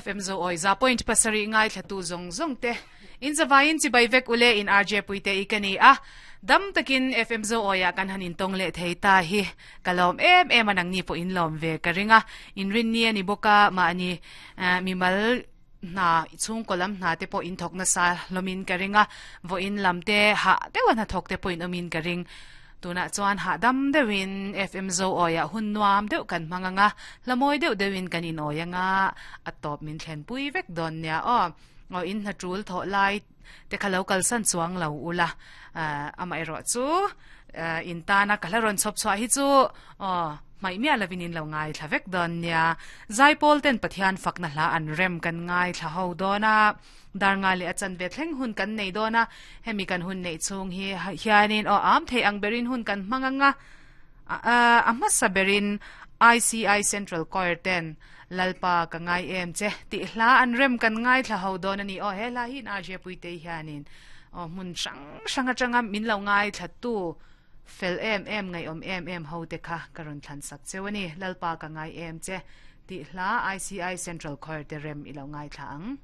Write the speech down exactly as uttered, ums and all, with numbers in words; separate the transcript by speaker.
Speaker 1: F M zo oi za point pasarih ngaithlatu zawng zawng te in zavaiin chibai vek ule in R J Puite i ka ni a, dam takin F M zo oia kan han intawng leh thei ta hi ka lawm em em a, nangni pawh in lawm ve ka ring a. In rin ni ani bawk a, mahni mimal hna chhungkaw lam hna te pawh in thawk nasa hlawmin ka ring a, vawiin lam te hah deuh a hnathawk te pawh in awmin ka ring. Tunah chuan hahdam deuhin F M zo awiah hun nuam deuh kan hmang anga, hlamawi deuh deuhin kan in awi anga, a tawp min thlen pui vek dawn nia aw. Aw, in hna tul thawh lai te kha lo kalsan chuang lo ula, amaherawh chu in tana ka hla rawn chhawp chhuah hi chu aw hmaih miah lovin in lo ngaithla vek dawn nia. Zaipawl ten Pathian fakna hla an rem kan ngaithla ho dawn a, dar nga leh a chanve thleng hun kan nei dawn a. Hemi kan hun neih chhung hi hianin aw am thei ang berin hun kan hmang anga, a hmasa berin I C I Central Choir ten Lalpa ka ngai em che tih hla an rem kan ngaithla ho dawn ani aw. He hla hi in R J Puite hianin aw hmun hrang hrang atanga min lo ngaithla tu fel em em, ngaihawm em em ho te kha ka rawn thlan sak cheu ani. Lalpa ka ngai em che tih hla I C I Central Choir te rem i lo ngaithla ang.